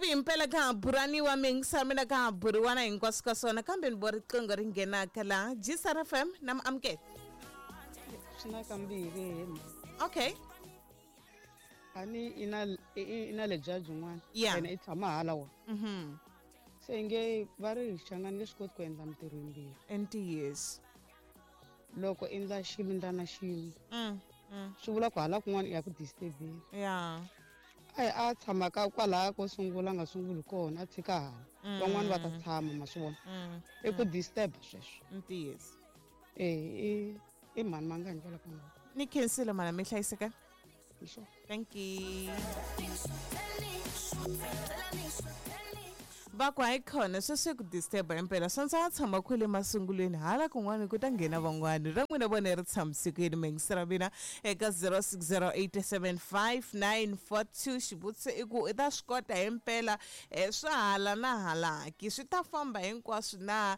Hevi himpela ka ha buraniwa miyingisela mina ka ha buriwana hinkwaswo ka swona, kambe ni vo riqingho ri nghenaka laha Gsar FM na mi amukela. Swi na kambirhi hemba. Okay. A ni i na i na lebya byin'wana. Yeah. Yena i tshama hala wa. Se nge va ri Xangani nge swi koti ku endla mintirho yimbirhi. I ntiyiso. Loko endla xilo ndla na xin'we. Swi vula ku hala kun'wana i ya ku disturbeni. Yeah. A hi a tshama ka kwalaya ko sungula a nga sunguli kona a tshika hala. Van'wana va ta tshama ma swi vona. I ku disturb sweswo. Ntiyiso. Eh i mhani mangani kwala ka n'wina. Ni khensile mhana mi hlayiseka. Sure. Thank you. Va ku hayi khona sweswi ku disturb impela swa ndza tshama kwele masungulweni hala kun'wana ku ta nghena van'wana ra n'wina vona ri tshamisekile miyingisela mina eka 06087594 xivutiso i ku i ta swi kota himpela swa hala na halaki swi ta famba hinkwaswo na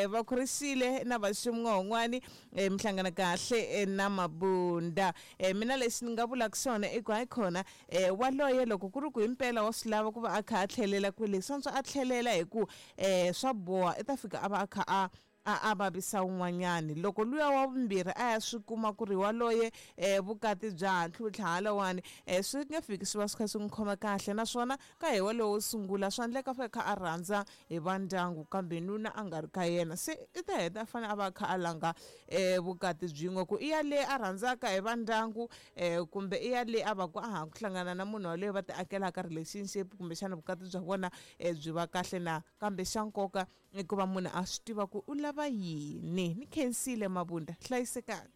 va kurisile na vaxin'wan'wani mi hlangana kahle na mabunda. Mina lexi ni nga vulaka xona i ku hayi khona waloye loko ku ri ku himpela wa swi lava ku va a kha a tlhelela kwele swa antswa a tlhelela hi ku swa boha i ta fika a va a kha a a a vavisa un'wanyani. Loko luya wa vumbirhi a ya swi kuma ku ri waloye vukati bya ha tlhutlha halawani swi nge fiki swi va swi kha swi n'wi khoma kahle naswona ka hi walowo wo sungula swa endleka a kha a rhandza hi va ndyangu kambe nuna a nga ri ka yena se i ta heta a fanele a va a kha a langa vukati byin'we ku i ya le a rhandzaka hi va ndyangu kumbe i ya le a va ku a ha ku hlangana na munhu waloye va ti akelaka relationship kumbexana vukati bya vona byi va kahle na kambe xa nkoka i ku va munhu a swi tiva ku u lava yini. Ni khensile Mabunda, hlayisekani.